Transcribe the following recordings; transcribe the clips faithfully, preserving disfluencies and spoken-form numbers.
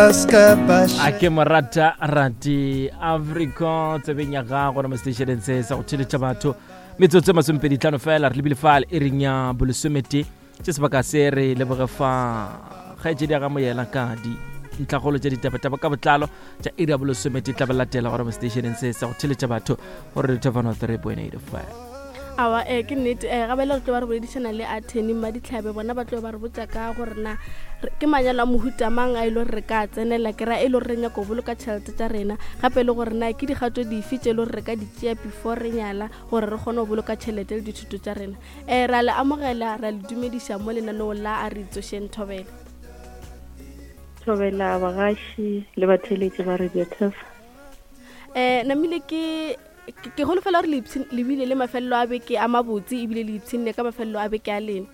A ke morata rati Africa tsebeng ya gago mo seteišeneng se sa go theletša batho metsotso e masomepedi tlhano fela re lebile fale e reng ya bolesomete tše sebaka se re leboge fa kgaetšedi ya ga moyela ka dintlhagolo tša ditabataba ka botlalo tša iri ya bolesomete tla ba latela gore mo seteišeneng se sa go theletša batho gore re thefano three point eight five. Awa, eh, ke nnete, eh, gape le re tlo ba re boledišana le attorney Mmaditlhabe, bona ba tlo ba re botša ka gore na re-, ke manyalo a mohuta mang a e le gore re ka tsenela, ke ra e le gore re nyaka go boloka tšhelete tša rena, gape le gore na ke dikgato dife tše e le gore re ka di tšea before re nyala gore re kgone go boloka tšhelete le dithuto tša rena. Eh, ra le amogela, ra le dumediša mo lenaneong la A Re Itsošeng. Thobela. Thobela bagaši le batheeletši ba Radio Turf. Eh, namile ke, ke, ke holofela gore le ipshin-, le bile le mafelelo a beke a mabotse ebile le ipshinne ka mafelelo a beke a lena.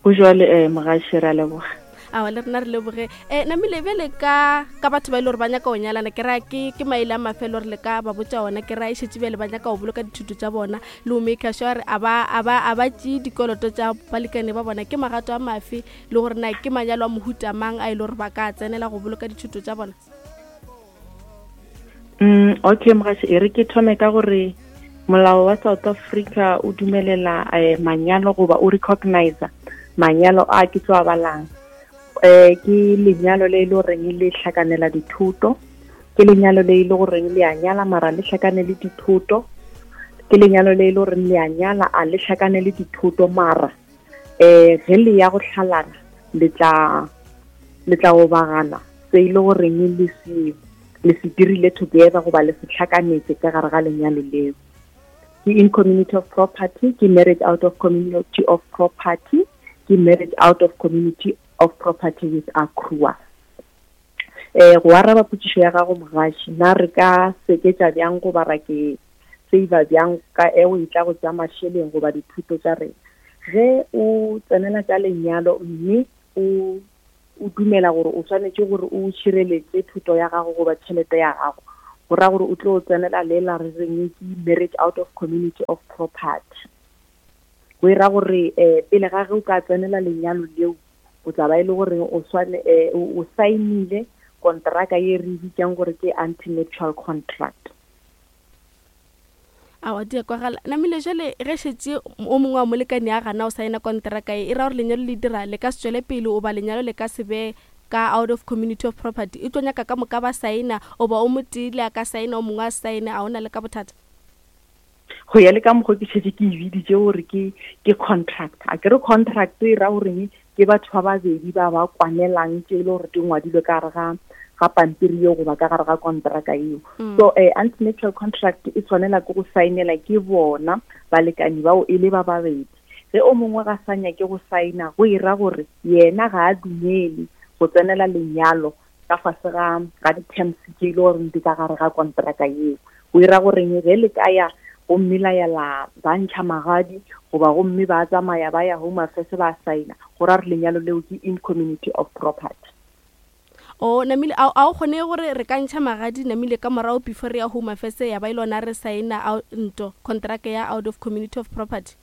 Go jwale, eh, mogaši, re a leboga. Aowa, le rena re leboge. Eh, namile bjale ka, ka batho ba e le gore ba nyaka go nyalana, ke raya ke, ke maele a mafelo gore le ka ba botša ona, ke raya e šetše bjale ba nyaka go boloka dithuto tša bona le go make sure gore a ba, a ba, a ba tšee dikoloto tša balekane ba bona, ke magato a mafe le gore na ke manyalo a mohuta mang a e le gore ba ka tsenela go boloka dithuto tša bona? Mm, okay, mogaši, e re ke thome ka gore molao wa South Africa o dumelela, eh, manyalo goba o recognize manyalo a ke tlo a balang. Eh, ke lenyalo le e le goreng le hlakanela dithuto, ke lenyalo le e le goreng le a nyala mara le hlakane le dithuto, ke lenyalo le e le goreng le a nyala a le hlakane le dithuto mara, eh, ge le ya go hlalana le tla, le tla obagana se e le goreng le se, le se dirile together goba le se hlakanetse ka gare ga lenyalo leo. Ke in community of property, ke marriage out of community of property, ke marriage out of community of property with accrual. Eh, go araba potšišo ya gago mogaši, na re ka seketša bjang goba ra ke save bjang ka eo e tla go tša mašeleng goba dithuto tša rena? Ge o tsenela tša lenyalo mme o, o dumela gore o swanetše gore o tšhireletše thuto ya gago goba tšhelete ya gago, go ra gore o tlo tsenela lela re reng ke marriage out of community of property. Go e ra gore, eh, pele ga ge o ka tsenela lenyalo leo, o tla ba e le gore o swane, eh, o, o saenile kontraka ye re bitsang gore ke anti-nuptial contract. Aowa, di a kwagala. Namile jwale ge šetše o mongwe wa molekane a gana o saena kontraka e, e ra gore lenyalo le dira le ka se tšwele pele oba lenyalo le ka se be ka out of community of property, e tlo nyaka ka moka ba saena oba o motee le a ka saena o mongwe a saene, a ona le ka bothata? Go ya le ka mokgwa ke šetše ke e biditše gore ke, ke contract. A ke re contract e ra goreng ke batho ba babedi ba ba kwanelang tše e le gore di ngwadilwe ka gare ga, ga pampiri eo goba ka gare ga kontraka eo. Mm. So, eh, anti-nuptial contract e tshwanela ke go saenela ke bona balekane bao e le ba babedi. Ge o mongwe ga sa nyake go saena, go e ra gore yena ga a dumele go tsenela lenyalo ka fase ga, ga di-terms tše e le gore di ka gare ga kontraka eo. Go e ra goreng ge le ka ya gomme la ya la ba ntšha magadi goba gomme ba tsamaya ba ya Home Affairs ba saena, go ra gore lenyalo leo ke in community of property. O namile, a, a o kgone gore re ka ntšha magadi namile ka morago before re ya Home Affairs ya ba e lona re saena out, nto contract ya out of community of property?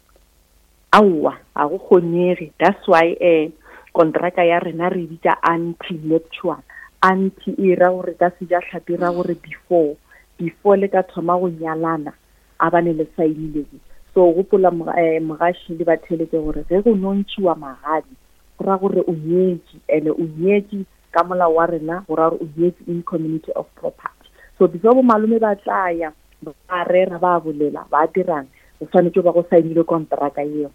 Aowa, ga go kgonege. That's why, eh, kontraka ya rena re bitša anti-nuptial. Anti e ra gore ka sejatlhapi e ra gore before, before le ka thoma go nyalana a bane le saenile. So gopola moga-, eh, mogaši le batheeletše gore ge go nontšhiwa magadi go ra gore o nyetše, ene o nyetše ka molao wa rena, go ra gore o nyetše in community of property. So before bo malome ba tla ya ba rera ba bolela ba dirang, o swanetše ba go saenile kontraka eo.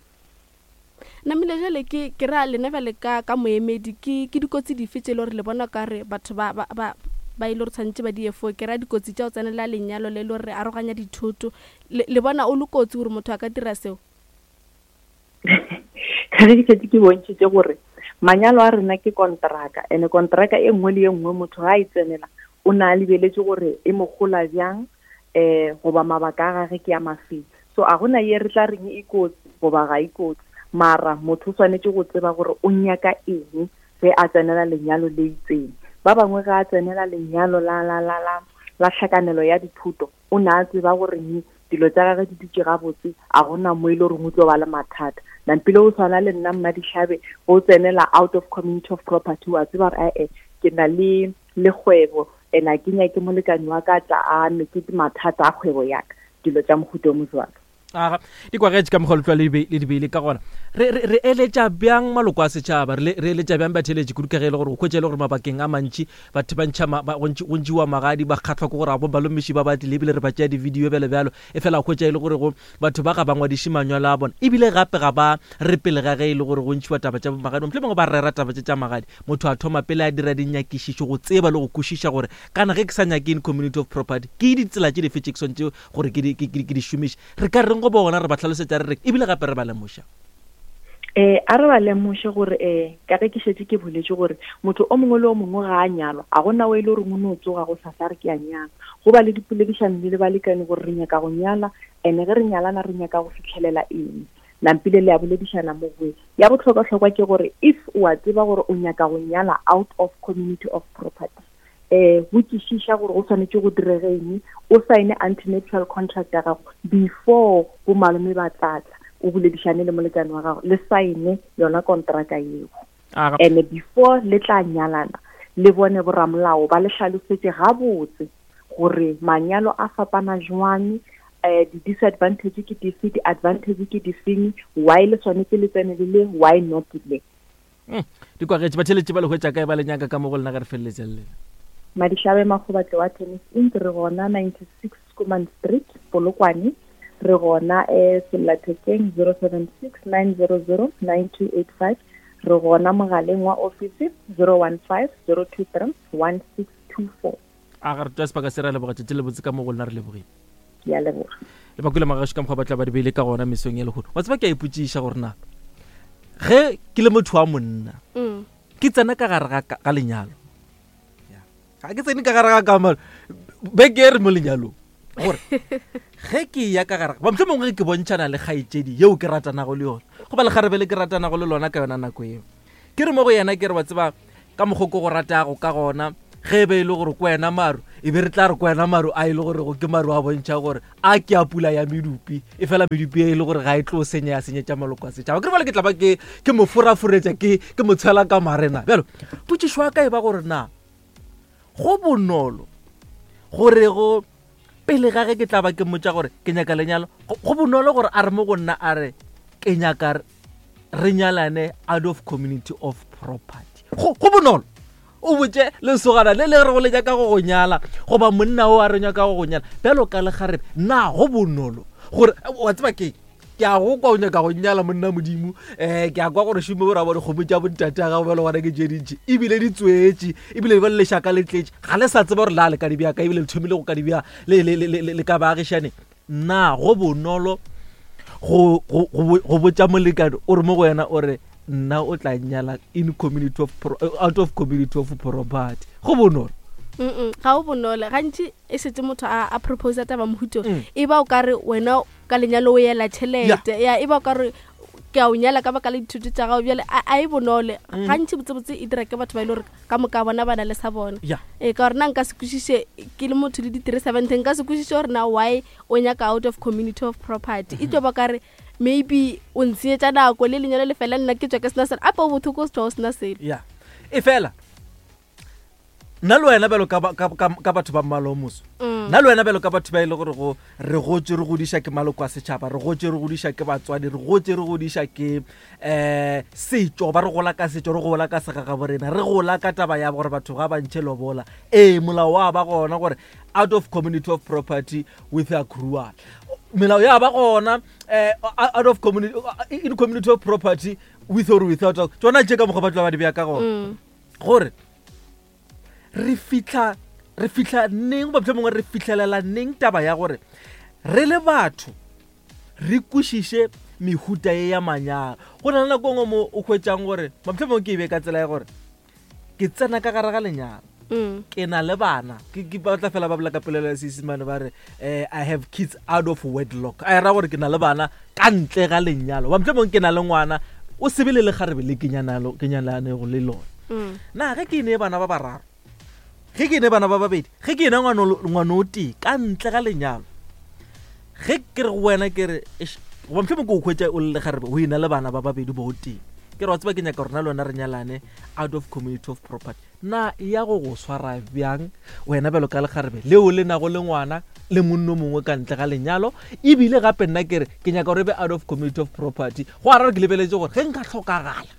Namile jwale ke, ke ra lena bjale ka, ka moemedi, ke, ke dikotsi dife tše e le gore le bona ka re batho ba, ba, ba, ba e le gore tshwanetse ba di efo? Ke ra dikotsi tša go tsenela lenyalo le le gore re aroganya dithoto, le, le bona o le kotsi gore motho a ka dira seo? Ka ge ke šetše ke bontšhitše gore manyalo a rena ke kontraka, ene kontraka e nngwe le e nngwe motho ga a e tsenela o na a lebeletše gore e mo gola bjang, eh, goba mabaka a gage ke a mafeng. So a gona ye re tla reng e kotsi goba ga e kotsi, mara motho o swanetše go tseba gore o nyaka eng ge a tsenela lenyalo le itseng. Ba bangwe ga a tsenela lenyalo la, la, la, la, la tlhakanelo ya dithuto, o na a tseba gore ni dilo tša gagwe di dutše gabotse, a gona mo e le gore o tlo ba le mathata. Nampile o tshwana le nna Mmadihlabe, o tsenela out of community of property, wa tseba gore, eh, eh, ke na le le kgwebo and a ke nyake molekane wa ka tla a me ke mathata a kgwebo ya ka, dilo tša mohuta o mo jwalo. Aga di kwagetše ka mokgwa letlwa le di beile ka gona. Re re eletša bjang maloko a setšhaba, re eletša bjang batheeletši kudu ka ge e le gore o hwetša e le gore mabakeng a mantši batho ba ntšha go ntšiwa magadi, ba kgahlwa ke gore a bo balomiši ba ba tlile ebile re ba tšea di-video bjalo bjalo, e fela o hwetša e le gore go batho ba ga ba ngwadiše manyalo a bona, ebile gape ga ba re pele ga ge e le gore go ntšhiwa taba tša magadi, mohlomongwe ba rera taba tše tša magadi, motho a thoma pele a dira dinyakišišo go tseba le go kwešiša gore kana ge ke sa nyake in community of property ke ditsela tše dife tše ke swanetše gore ke di šomiše. Re ka reng go bona re ba hlalosetša re re ebile gape re ba lemoša? Eh a re ba lemoše gore eh ka ge ke šetše ke boletše gore motho o mongwe le o mongwe ga a nyalwa, a gona o e le gore o no tsoga go sasa re ke a nyala. Go ba le dipoledišano le balekane gore re nyaka go nyala, ene ge re nyalana re nyaka go fitlhelela eng. Nampile le a boledišana mo goe. Ya bohlokwa-hlokwa ke gore if o a tseba gore o nyaka go nyala out of community of property, eh botšišiša gore go swanetše go direge eng, o sign antenuptial contract ya gago before bo malome ba tlatla, o boledišane le molekane wa gago, le sign yona kontraka eo. And before le tla nyalana le bone boramolao ba le hlalosetše gabotse gore manyalo a fapana jwang, eh di-disadvantage ke dife, di-advantage ke difeng, why le swanetše le tsene le le, why not le. Di kwagetše batheeletši ba le hwetša kae ba le nyaka ka mo go lena ge re feleletša le lena? Madihlabe Makgobatle wa Tennis Inc, re gona ninety-six Schoeman Street, Polokwane. Re gona eh sellathekeng zero seven six nine zero zero nine two eight five. Re gona mogaleng wa office zero one five zero two three one six two four. A ga re tšwa sebaka se re leboga tšatši le botse ka mo go lena, re lebogile. Ke a leboga. Le bakule magašo ka mokgwa ba tla ba di beile ka gona mesong ya lehono. Wa tseba ke a ipotšiša gore na ge ke le motho wa monna ke tsena ka gare ga lenyalo, ga ke tsene ka gare ga kamano beke e re mo lenyalong, gore ge ke ya ka gare ba mohlomongwe ke bontšhana le kgaetšedi yeo ke ratanago le yona goba lekgarebe le ke ratanago le lona ka yona nako eo, ke re mo go yena ke re wa tseba ka mokgwa ko go ratago ka gona, ge e be e le gore ke wena maru, e be re tla re ke wena maru a e le gore ke maru a bontšha gore a ke a pula ya medupi, e fela medupi e le gore ga e tlo senya ya senyetša maloko a setšhaba. Ke re bale ke tla ba ke ke mo foraforetša ke ke mo tshwela ka marena. Bjalo potšišo ya ka e ba gore na go bonolo gore go pele ga ge ke tla ba ke mmotša gore ke nyaka lenyalo, go bonolo gore a re mo go nna a re ke nyaka re nyalane out of community of property. Go go bonolo o botše lesogana le le re go le nyaka go go nyala goba monna o a re nyaka go go nyala bjalo ka lekgarebe, na go bonolo gore wa tseba ke ke a go kwa o nyaka go nyala monna modimo, um ke a kwa gore šome gore a bone kgomo tša bontate a gago bjalo gona ke tše dintši ebile di tswetše ebile ba le lešaka le tletše, ga le sa tseba gore la le ka di bjaka ebile le thomile go ka di bja le ka baagišane. Na go bonolo go go botša molekane o re mo go wena o re nna o tla nyala in community of out of community of property? Go bonolo? Ga o bonolo. Gantši e setse motho a a propose taba mohuto e ba o ka re wena ka lenyalo o yela tšhelete ya e ba o ka re ke a o nyala ka baka la dithuto tša gago bjale a e bonole. Gantši botsebotse e dira ke batho ba e le gore ka moka bona ba na le sa bona. Ee, ka gore na nka se kwešiše ke le motho le di-three seventy, nka se kwešiše gore na why o nyaka out of community of property. E tlo ba ka re maybe o ntsheetša nako le lenyalo le fela nna ke tswa ke sena selo, ape o bothoko o se tswa o sena selo. Ya e fela nna le wena bjalo ka batho ba mmala o moso, nna le wena bjalo ka batho ba e le gore go re gotse re godiša ke maloko a setšhaba, re gotse re godiša ke batswadi, re gotse re godiša ke um setšo, ba re gola ka setšo, re gola ka segagabo rena, re gola ka taba ya gore batho ga ba ntšhe lobola. Ee, molao wa ba gona gore out of community of property with accrual, melao ya ba gona um out of community in community of property with or without, tsona tše ka mokgwa ba tla ba di bea ka gona gore re fihla re fihla neng goba mohlomongwe re fihlelela neng taba ya gore re le batho re kwešiše mehuta ye ya manyalo. Go na le nako nngwe mo o hwetšang gore mohlomongwe ke e be ka tsela ya gore ke tsena ka gare ga lenyalo, ke na le bana, ke ba tla fela ba bolela ka polelo ya Seisemane ba re eh I have kids out of wedlock, a era gore ke na le bana ka ntle ga lenyalo, ba mohlomongwe ke na le ngwana o sebele le kgarebe le ke nyanalo ke nyalanego le lona. Na ge ke ne bana ba bararo, ge ke ne bana ba babedi, ge ke ena ngwana o tee ka ntle ga lenyalo, ge ke re go wena ke re goba mohlomongwe ke o hwetša o le lekgarebe o ena le bana ba babedi ba o tee, Ke re, wa tseba, ke nyaka rona le wena re nyalane out of community of property. Na e ya go go swara bjang wena bjalo ka lekgarebe leo le nago le ngwana le monno mongwe ka ntle ga lenyalo? Ebile gape nna ke re ke nyaka gore e be out of community of property, go ara re ke lebeletse gore ge nka tlhokagala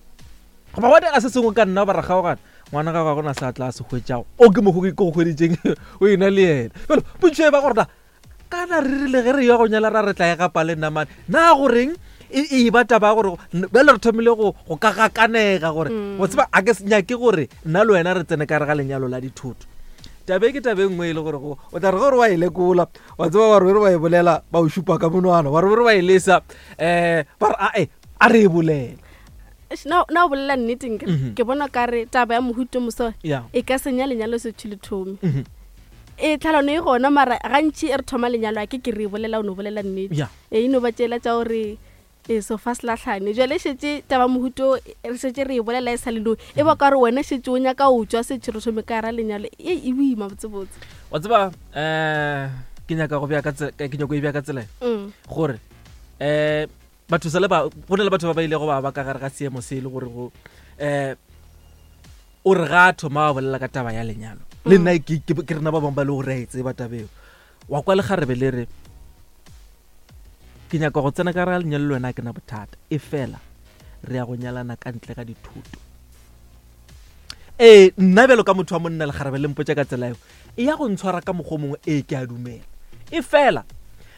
goba gwa dira se sengwe ka nna ba ra kgaogana, ngwana ga ga gona sa tla se hwetšago o ke mokgo ke go hweditseng o ena le yena. Jalo potso e ba gore na kana re rile ge re ya go nyala ra re tla e gapa le namane na goreng e e ba taba ya gore bjale re thomile go go ka gakanega gore Mm. go tseba a ke se nyake gore nna le wena re tsene ka re ga lenyalo la dithoto. Tabe ke tabe e nngwe e le gore go o tla re gore wa e lekola, wa tseba, wa re re wa e bolela, ba o šupa ka monwana, wa re re wa e lesa, um ba re ae a re e bolele. Eish, na na o bolela nnete nkere Mhm. ke bona ka re taba ya mohuto moso ya e ka senya lenyalo setšho le thome. Mhm. E tlhalano e gona, mara gantši e re thoma lenyalo a ke ke re e bolela, o no bolela nnete. Ya e e no ba tšela tša gore e sofa se latlhane. Jale šetse taba mohuto re šetse re e bolela e sa le e ba ka gore wena šetse o nyaka o tswa setšho re thome ka gara lenyalo e e boima botsebotse. Wa tseba, um ke nyaka go bea ka tse- ke nyako e bea ka tsela e Mm. gore um batho sa le ba go na le batho ba ba ilego ba ba ka gare ga seemo se e le gore go um o re ga a thoma ba bolela ka taba ya lenyalo le nna ke ke- ke rena ba bangwe ba le gore a e tseba tabeo. Wa kwa lekgarebe le re ke nyaka go tsena ka gare ga lenyalo le wena, a ke na bothata, e fela re ya go nyalana ka ntle ga dithoto. Ee, nna bjalo ka motho wa monna, lekgarebe le mpotsa ka tsela eo, e ya go ntshwara ka mokgwa o mongwe. Ee, ke a dumela, e fela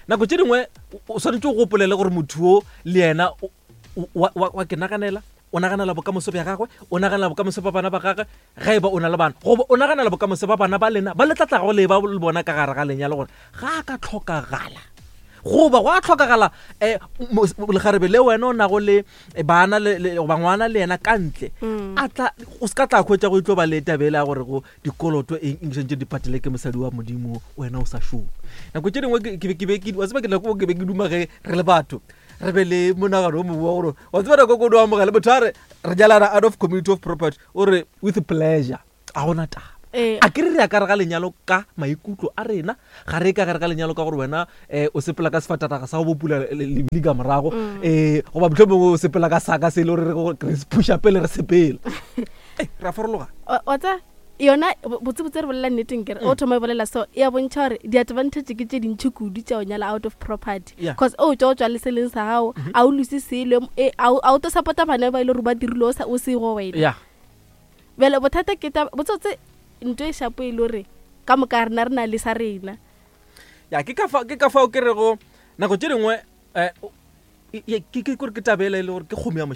nako tše dingwe o- o swanetše o gopolele gore motho o le yena o- o- wa wa- wa ke naganela, o naganela bokamoso bja gagwe, o naganela bokamoso ba bana ba gagwe ge e ba o na le bana, goba o naganela bokamoso ba bana ba lena ba le tlatlago le ba le bona ka gare ga lenyalo, gore ga a ka tlhokagala goba go a tlhokagala um lekgarebe le wena o nago le eh, bana le- le- goba ngwana le yena ka ntle, Mm. a tla o se ka tla hwetša go itlo ba le tabele ya gore go dikoloto eng eng santse di patele ke mosadi wa modimo, wena o sa šome. Nako tše dingwe ke- ke be ke be ke wa tseba ke nako ke be ke duma ge re le batho re be le monagano o mongwe wa gore, wa tseba, nako ko o amogele motho a re re nyalana out of community of property, o re with pleasure, a gona taba. Ee. A ke re re ya ka re ga lenyalo ka maikutlo a rena, ga re ka gare ga lenyalo ka gore wena um o sepela ka sefatanaga sa go bopula lebili ka morago, um goba motlho mongwe o sepela ka saka se e le gore re go- re se phuša pele re sepela. Ei, re a farologana. Wa- wa tsa yona bo- botsebotse re bolela nneteng kere o thoma e bolela so e a bontšha gore di-advantage ke tše dintšhi kudu tša go nyala out of property, Yeah. cause o tswa o tswa le seleng sa gago, a o lose selo, e, a o a o tlo support-a bana ba e le gore ba dirile o sa- o sego wena. Ya Bjale bothata ke taba botsotse ntho e shapo e le gore ka moka rena re na le sa rena. Ya, ke ka fa- ke ka fao ke rego nako tše dingwe um ke ke kore ke tabela e le gore ke kgomo ya.